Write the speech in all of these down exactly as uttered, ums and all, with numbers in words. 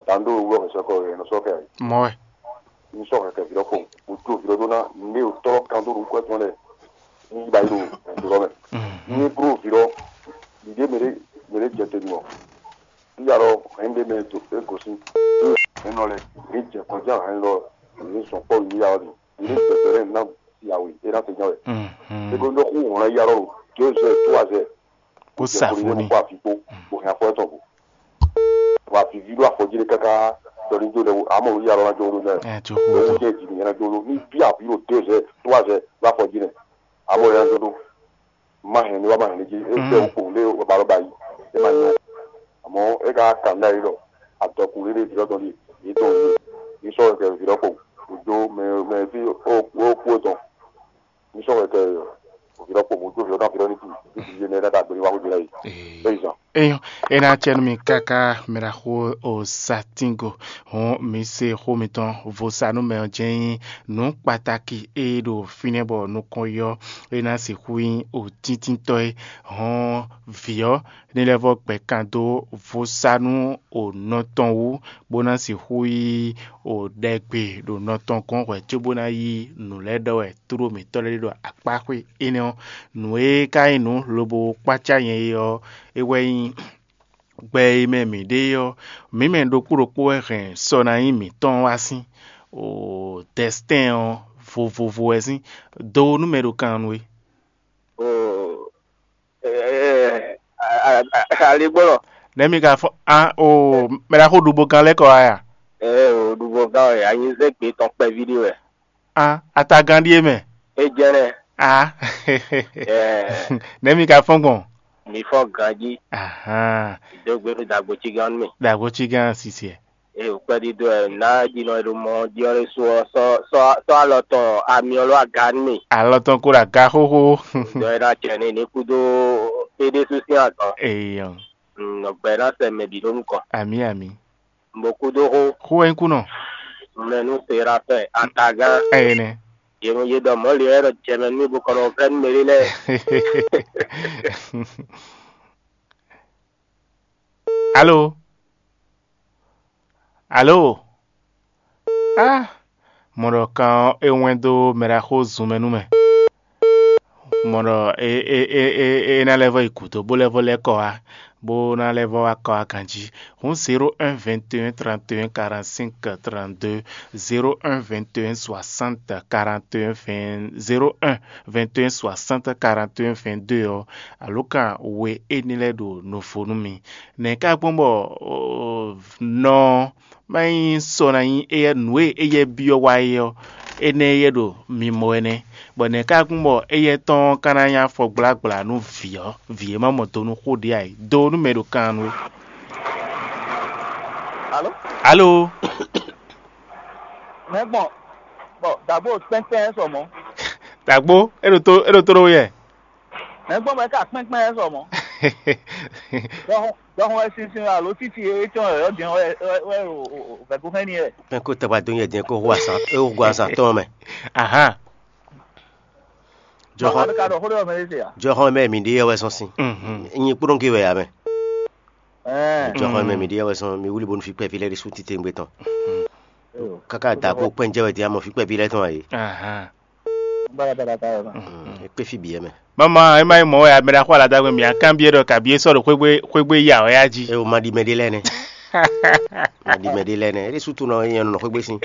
Tando wɛ sɔkɔ yɛ nɔ sɔkɛ. Mɔ wɛ. Ní sɔ kɛkɛ vǐ lɔ kpɔn, o jó vǐ lɔ ɖó ná, ní o tɔ́ kan dó nukú tɔn lɛ, ní yi ba yi ɖo ɛdo lɔ mɛ. Ní bro vǐ lɔ, ɖiɖe mɛ ɖe mɛ ɖe jɛ te nɔ. Ní ya lɔ hɛn ɖe mɛ to e gosín. Hɛn nɔ lɛ, ní jɛ kɔjá hɛn lɔ, ní sɔn kpɔ ní ya lɔ ní. Ní jɛ te lɛ ná yawe, e ná te nya wɛ. Ego ní xú hɔn ya lɔ, deux heures, trois heures. Kó sa fó ní. Kó afi kpó, kó hɛn afɔ tɔn kó. Wa vivi ɖo afɔ jí ɖe káká ɖɔ ní jó ɖe amɔ wí alɔ ná jó ɖo nɛ. Ɛ tó xó tó. Wúdɛ dzi nìyẹn ná jó ɖo ní bí àbí ɖo deux heures, trois heures ɖo afɔ jí nɛ. Amɔ yẹn ná jó ɖo. Má hɛn ní wá má hɛn ní jí é fẹ́ wò kpowun lé wà bá lɔ ba yí é má nyɔ. Àmọ́ é ká kà ní ayé lɔ àtɔkùn lé lé vǐ lɔ tɔn ɖi yìí tɔn yìí ní sɔ́ kɛ vǐ lɔ kpowun òjò mɛ mɛ fí ó ó kú é tɔn. Ní sɔ́ wɛ kɛ òvǐ lɔ kpo mɔ̌ dó vǐ lɔ ná vǐ lɔ ní kú ní vǐ yé nɛ́ ná ɖagbe ní wá xwé lɛ́ɛ yi. Eyɔn, é ná acɛ nú mi káká mɛ ɖaxó o satingo. Hɔn mi se xó mitɔn vo sa nú mɛ ɔ́ jɛ́n nyí nǔ kpatáki e ɖo fínɛ́ bɔ nukɔn yɔ é ná sixú nyí o tíntítɔ́ é. Hɔn vǐ ɔ́ ní lɛ́ vɔ́ gbɛ kan dó vo sa nú o nɔ tɔn wú bó ná sixú yí o ɖɛgbe ɖo nɔ tɔn gɔ́n hwɛ̌ cóbó ná yí nǔ lɛ́ɛ ɖɔ wɛ tló mǐtɔn lɛ́ɛ ɖo akpá xwé énɛ́ ɔ́. Nǔ e ka nyí nǔ lobo kpácá nyɛ é ɔ́, é wɛ nyí gbɛ e mɛ mǐ ɖe é ɔ́, mǐ mɛ ɖokpó ɖokpó wɛ hɛn sɔ ná nyí mǐtɔn wá sín. O dɛstɛ́n ɔ́ vovovo wɛ sín. Do nú mɛ ɖo kan nú we. Aligbɔnɔ. Nɛ̌ mi ka fɔ a o mɛ ɖaxó ɖubo gán lɛ́ɛ kɔ wá ya? Ɛ o ɖubo gán wɛ anyizɛ́ gbé tɔn kpɛví ɖé wɛ. A atagán ɖíe mɛ. É jɛnɛ. A Ɛ nɛ̌ mi ka fɔ́n gbɔn? Mi fɔ ganjí. Ahan. Dó gbé nú dagbo cí gán nú mi. Dagbo cí gán sisiɛ. Eye wòkpɛ́ ɖídó ɛ ná jinɔ e ɖo mɔ jí ɔ́ ɖésú ɔ́ sɔ́ sɔ́ sɔ́ alɔ tɔn amyɔ ló aga nú mì. Alɔ tɔn ko ɖo aga xóxó. Dɔ e ná cɛ ní ní kúdó é ɖésú sín azɔn. Eyɔ. Nɔgbɛ ná sɛ mɛ bǐ ɖó nukɔn. Ami ami. Mbo kúdó xó. Xó wɛ nyí kú nɔ. Mɛ nú Serafɛ atagán. Ɛyɛ nɛ. Yě mɔ yě ɖɔ mɔ̌ lě wɛ ɖɔ jɛ mɛ nú mì bó kɔ nɔ vɛ́ nú mɛ ɖé lɛ́ɛ. Alo. Alo. Ah, mɔ ɖɔ kan ɔ́ é wɛn dó mɛ ɖaxó zun mɛ nú mɛ. Mɔ ɖɔ é é é é é ná lɛ́ vɔ yi gǔdo bó lɛ́ vɔ lɛ́ kɔ wá, bó ná lɛ́ vɔ wá kɔ wá ganjí. Hǔn zéro un vingt et un trente et un quarante-cinq trente-deux, zéro un vingt et un soixante quarante et un vingt, zéro un vingt et un soixante quarante et un vingt-deux ɔ́, alǒkan we éní lɛ́ɛ ɖo nǔ vo nú mi. Nɛ̌ ka gbɔn bɔ nɔ má nyí sɔ ná nyí éyɛ́ nǔ e éyɛ́ byɔ́ wá é ɔ́, énɛ́ éyɛ́ ɖo mimɔ wɛ nɛ́, bɔ nɛ̌ ka gbɔn bɔ éyɛ́ tɔn ɔ́ ka ná nyí afɔ gblágbla nú vǐ ɔ́, vǐ e má mɔ do nú xó ɖě ǎ é, do nú mɛ e ɖo kan nú é. Alo? Alo? Mɛ gbɔn bɔ dabo kpɛnkpɛn sɔ mɔ. Dagbo, é ɖo tó é ɖo tó ɖó yɛ. Mɛ gbɔn bɔ é ka kpɛnkpɛn sɔ mɔ. Dɔhun dɔhun wɛ sinsin alo títí é tɔn yɔ jɛn wɛ wɛ wɛ o o vɛgúnfɛn ni yɛ. Pɛn ko tɛgba dó nyɛ jɛn kó hu azan é hu azan tɔn mɛ. Ahan. Jɔhɔn Baba ka ɖɔ xó ɖé wɛ mɛ ɖé se ya. Jɔhɔn mɛ mi ɖe yɛ wɛ sɔn sin. Mhm. Nyi kplɔn ke wɛ ya mɛ. Ɛɛ. Jɔhɔn mɛ mi ɖe yɛ wɛ sɔn mi wuli bonu fi kpɛvi lɛ ɖi su tite ŋgbe tɔn. Kaka da ko kpɛn jɛ wɛ di amɔ fi kpɛvi lɛ tɔn ayi. Ahan. Bala bala ka yɛ ma. Ekpe fi bi yɛ mɛ. Mama, e ma yi mɔ wɛ amɛ ɖaxó aladagbe mi akanbiɛ ɖɔ kabi e sɔ ɖo xwegbe xwegbe ya wɛ ya ji. E o ma ɖi mɛ ɖe lɛ nɛ. Ma ɖi mɛ ɖe lɛ nɛ. E ɖe sutu nɔ yɛ nɔ xwegbe sin.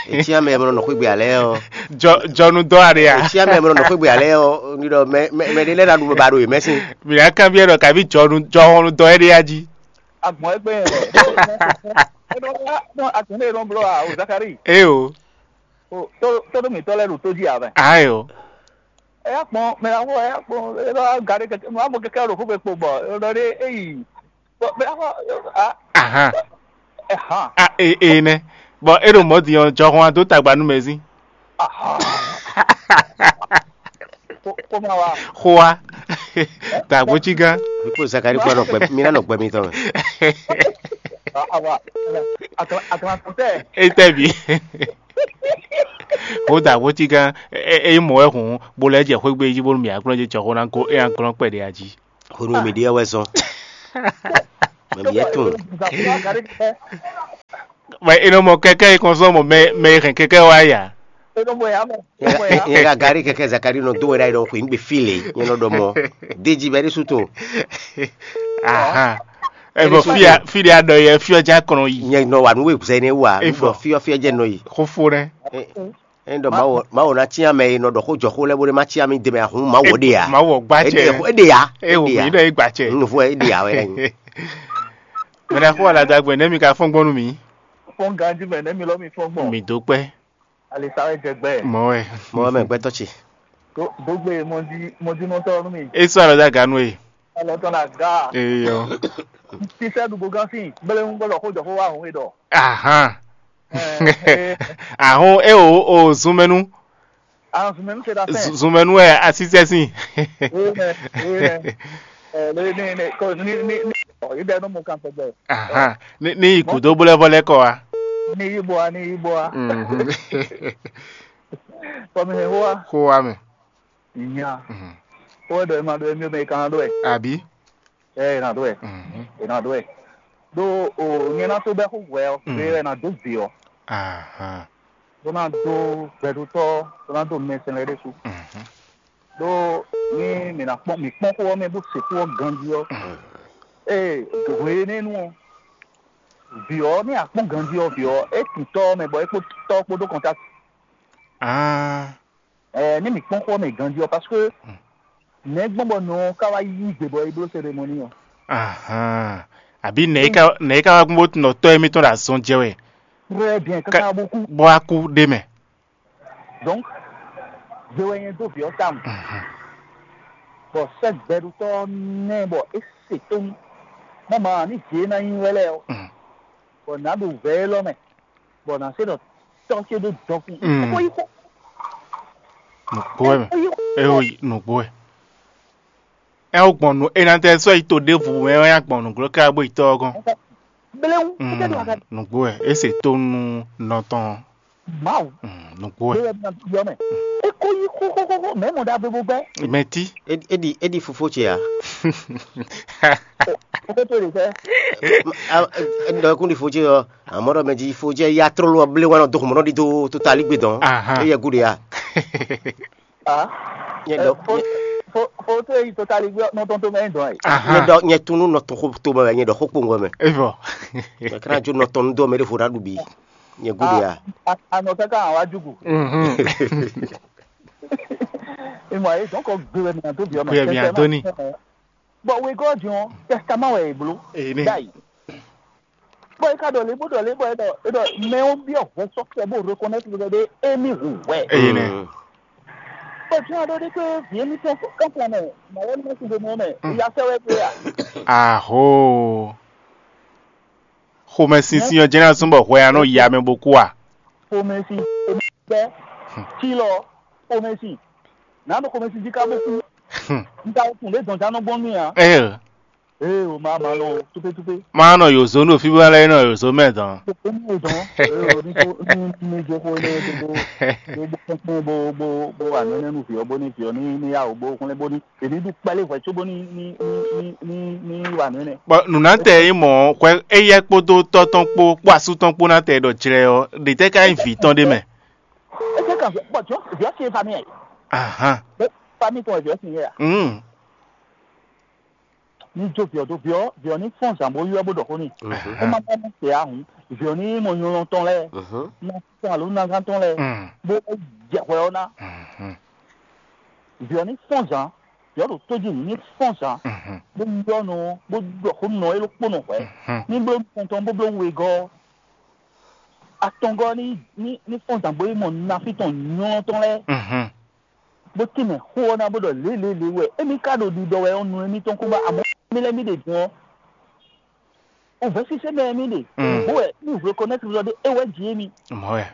Etsi amɛ mɛ nɔ xwegbe alɛ ɔ. Jɔ jɔnu dɔ aɖe ya. Etsi amɛ mɛ nɔ xwegbe alɛ ɔ. Ni ɖɔ mɛ mɛ mɛ ɖe lɛ na ɖu ba ɖo yemɛ sin. Mi akanbiɛ ɖɔ kabi jɔnu jɔhɔnu dɔ ɛɖe ya ji. Agbɔn egbe yẹn. Agbɔn ne yẹn nɔ blɔ a o Zakari. Ee o. Tó tó mi tɔ lɛ ɖo tó jí a mɛ. Ayo. Ɛ yà kpɔn mɛ na wɔ ɛ yà kpɔn ɛ lɔ gari kɛkɛ mɛ amɔ kɛkɛ ɖo fúnfɛ kpo bɔ ɛ lɔ ɖe eyi. Mɛ na wɔ a. Ahan. Ɛhan. A e e nɛ. Bɔn e ɖo mɔdi ɔ jɔhɔn a dó tagba nú mɛ zín. Ahan. Kó kó ma wa. Xó wa. Tagbo cí gán. Mi kpó Zakari kpó nɔ gbɛ mi ná nɔ gbɛ mi tɔn mɛ. Awa. Akla akla tɛ. E tɛ bi. Xó dagbo cí gán. E e mɔ wɛ hùn. Bó lɛ jɛ xwé gbé jí bónú mi aklɔ́ jɛ jɔ xó ná gó e aklɔ́ kpɛɖé a jí. Xó nú mi ɖíɛ wɛ zɔn. Mɛ mi yɛ tún. Mɛ è nɔ mɔ kɛkɛ e kɔn sɔn mɔ mɛ mɛ e hɛn kɛkɛ wá ya. É nɔ mɔ ya mɛ. É nɔ mɔ ya. Nyɛ ka gari kɛkɛ Zakari nɔ dó wɛ ɖ'ayǐ ɖɔ xweyǐgbe fí lě, nyɛ nɔ ɖɔ mɔ. Déji bɛ ɖésú to. Ahan. Ɛ bɔ fia fia ɖɔ yɛ fiɔ ja kɔnɔ yi. Nyɛ nɔ wa nú we zɛ ne wa. Nú ɖɔ fiɔ fiɔ jɛ nɔ yi. Xófó nɛ. Ɛ ɖɔ Mawu Mawu ná cyán mɛ e nɔ ɖɔ xó jɔ xó lɛ́ɛ bó ɖé má cyán mì dɛmɛ ahun Mawu ɖe ya. Mawu gbá cɛ. É ɖe ya. É wò mí ɖɔ é gbá cɛ. Nufɔ é ɖe ya wɛ. Mɛ ɖaxó aladagbɛ nɛ mi ka fɔn gbɔn nú mi. Fɔn ganji mɛ nɛ mi lɔ mi fɔn gbɔn. Mi dó kpɛ. Alisa wɛ jɛ gbɛ. Mɔ wɛ. Mɔ wɛ mɛ gbɛtɔ ce. Dogbe mɔdinɔtɔ nú mi. E sɔ alɔ da ganu e. Alɔ tɔn na ga. Eyɔ. Sisɛ ɖu bogan sin gbɛlɛ ń gbɔdɔ xó jɔ xó wa hun e dɔ. Ahan. Ahun e o o zun mɛ nu. Ahun zun mɛ nu se da fɛn. Zun mɛ nu wɛ asisɛ sin. Eyɛ eyɛ. Ɛ ne ne ne ko ni ni ni. Ɔ yi bɛ n'o mɔ kan tɔgbɛ. Ahan. Ni ni yi kudo bolɛ vɔ lɛ kɔ wa. Ni yi bɔ a ni yi bɔ a. Mhm. Kɔmi hɛn hoa. Xó wa mɛ. Nya. Mhm. Xó wɛ ɖɔ ema ɖɔ emi mɛ kan ɖɔ ɛ. Abi. Ɛ ena ɖɔ ɛ. Mhm. Ena ɖɔ ɛ. Ɖo o nyɛ na to bɛ xó hwɛ ɔ. Mhm. Ɛ na do vi ɔ. Ahan. Bó ná dó gbɛɖutɔ́, bó ná dó mɛsɛn lɛ́ɛ ɖésú. Mhm. Ɖó ní mǐ ná kpɔ́n mǐ kpɔ́n xó ɔ́ mɛ bó se xó ɔ́ ganjí ɔ́, ee hwe énɛ́ nu ɔ́, vǐ ɔ́ ní akpɔ́n ganjí ɔ́, vǐ ɔ́ é kun tɔ́ ɔ́ mɛ bɔ é kpó tɔ́ ɔ́ kpódó kɔntákt. Ah. Ɛɛ ní mǐ kpɔ́n xó ɔ́ mɛ ganjí ɔ́, parce que nɛ̌ gbɔn bɔ nɔ ɔ́ ká wá yí gbe bɔ é bló cérémonie ɔ́? Ahan. Àbí nɛ̌ é ka nɛ̌ é ka wá gbɔn bó tunɔ tɔ́ émítɔn ɖo azɔn jɛ wɛ? Très bien, káká bó kú. Bó wá kú ɖ'é mɛ. Donc, je wɛ nyɛ dó vǐ ɔ́ tawun. Mhm. Bɔ sɛ́ gbɛɖutɔ́ ɔ́ nɛ́ bɔ é se tónú. Mama ní vǐ e ná nyí wɛ lɛ́ɛ ɔ́, Mhm. Bɔ nǎ ɖo vɛ̌ élɔ́ mɛ, bɔ nǎ se ɖɔ tɔ́ ce ɖó dɔkun. Mm. Xó yí xó. Nǔgbó wɛ mɛ. Xó yí xó. É xó yí nǔgbó wɛ. É xó gbɔn nǔ é ná tɛ sɔ́ yi to ɖěvo mɛ wɛ nyá gbɔn nǔglɔ́ ká bó yi tɔ́ ɔ́ gɔ́n. Bléwu, Mm, kúkẹ́ ɖo aga. Nǔgbó wɛ. É se tó nú nɔ tɔn. Mawu. Mm, nǔgbó wɛ. Bóyá bí ná yɔ mɛ. É kó yí xóxóxóxó, mɛ̌ mɔ ɖagbe bó gbɛ́. Mɛ tí. Éɖi éɖi fofó ce ǎ. Fofó tó lè fẹ́. Ɖɔ kún ɖi fó ce ɔ́, àmọ́ ɖɔ mɛ jí fó ce ya trolo ɔ́ blé wá nɔ dó xɔmɔ̌ nɔ ɖi dó tó ta lí gbé dɔn. Ahan. É yɛ gúɖe a. Ah. Nyɛ Eh, ɖɔ fo fo fo tó yi tó ta lí gbé nɔ tɔn tó mɛ dɔn ɛ. Nyɛ Ahan. Ɖɔ nyɛ tún nú nɔ tɔn xó tó mɛ wɛ nyɛ ɖɔ xó kpowun wɛ mɛ. Evɔ. Nyɛ kana jó nɔ tɔn nú dó mɛ ɖé fo ɖa ɖu bi. Nyɛ gúɖe a. Anɔ kaka wá jugu. Mhm. Ìmọ̀ ayé dɔn kɔ gbé wɛ mìíràn tó bí ọmọ. Gbé wɛ mìíràn tó ní. Bɔ wegɔ́ din ɔ́, tɛstamá wɛ è bló. Èyí ni. Dai. Bɔ é ka ɖɔ lě bó ɖɔ lě bɔ é ɖɔ é ɖɔ mɛ ɔ́ byɔ́ hwɛ sɔ́ kɛ bó reconnaître ɖɔ ɖé émí hu hwɛ. Èyí ni. Mm. Bɔ jɔn aɖɔ ɖé pé vǐ émí tɔn kɔ́ntɔn mɛ, màwɔ ní mɛsí ɖo mɛ mɛ, Mm. ìyá sɛ wɛ pé a. Aho. Xomɛsinsin ɔ́ jɛ́n ná zɔ́n bɔ hwɛ ɔ́ nɔ ya mɛ bó kú a? Xomɛsin, xomɛsin, tílɔ, xomɛsin. Nǎ ɖo xomɛsin jí ká bó kú. Hmm. Un ka tunwun ɖě dɔn já nɔ gbɔn nú mì ǎ. Ee, Ee, o ma ma nɔ túpétúpé. Má nɔ yǒzo nú fí bó ná lɛ́ nɔ yǒzo mɛ dɔn. Kókó ní o dɔn. Ee, o ní kó ní ní jó xó ní o tó bó bó bó kpɔ́n bó bó bó wà nínú nínú vǐ ɔ́ bó ní vǐ ɔ́ ní ní yá o bó xlɛ́ bó ní. Èmi ɖu kpɛlɛ hwɛ cóbó ní ní ní ní ní wà nínú. Bɔ nǔnátɛ e mɔ hwɛ éyɛ́ kpódó tɔ́ tɔn kpó kpó asú tɔn kpó ná tɛ ɖɔ jlɛ ɔ́, ɖě tɛ́ ka nyí vǐ tɔn ɖé mɛ? É jẹ́ kàn bọ̀ tí ó sì famille ẹ̀. Ahan. Famille tɔn ẹ̀ sì yẹ. Mm. Ní jó viɔ dó viɔ viɔ ní fɔ́n zǎn bó ywɛ́ bó ɖɔ xó n'i. Mhm. Ó má bá ní se ahun viɔ ní mɔ nyɔlɔn tɔn lɛ́ɛ Mhm. ná tɔn alo nagán tɔn lɛ́ɛ Mm. bó jɛ hwɛ ɔ́ ná. Mhm. Viɔ ní fɔ́n zǎn viɔ ɖo tó jí ní fɔ́n zǎn Mhm. bó ylɔ́ nɔ bó ɖɔ xó nɔ é ló kpó nɔ hwɛ Mhm. ní bló nukɔn tɔn bó bló wegɔ́ atɔngɔ́ ní ní ní fɔ́n zǎn bó yi mɔ nafí tɔn nyɔlɔn tɔn lɛ́ɛ. Mhm. Bó tínmɛ xó ɔ́ ná bó ɖɔ lělělě wɛ émí ka ɖo ɖiɖɔ wɛ ɔ́ nu émítɔn kú bá amɔ̌ mí lɛ́ɛ mí ɖe din ɔ́. Wǔvɛ́ sísɛ́ mɛ mí ɖe Mm. bó wɛ mí reconnaître ɖɔ ɖé é wɛ jí émí. Mɔ̌ wɛ.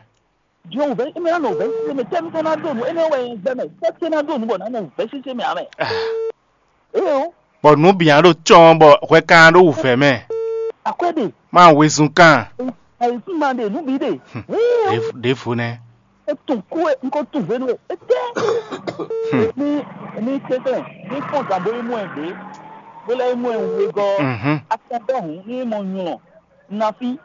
Din ɔ́ wǔvɛ́ émí ná nɔ wǔvɛ́ sísɛ́ mɛ tɛ́ mítɔn ná ɖo nǔ énɛ́ wɛ nyɛ gbɛ mɛ tɛ́ tɛ́ ná ɖo nǔ bɔ ná nɔ wǔvɛ́ sísɛ́ mɛ ǎ mɛ. Ah. Éeó. Bɔ nǔ bǐ nya ɖo cɔ́ɔ́n bɔ hwɛ ka nya ɖó wǔvɛ́ mɛ. Akwɛ́ ɖe. Má wezun kan. Ayǐkúngban ɖe nǔ bǐ ɖe. Hum. Wúwo. Ɖěvo nɛ́. Etun kú e n ko tun hwenu e etɛ. Ní ní tɛtɛ ní fɔn gǎn bó yi mɔ ɛ gbé bó lɛ́ yi mɔ ɛ wegɔ́ Mhm. atɔ́gbɛ́ hǔn ní mɔ nylɔ nafi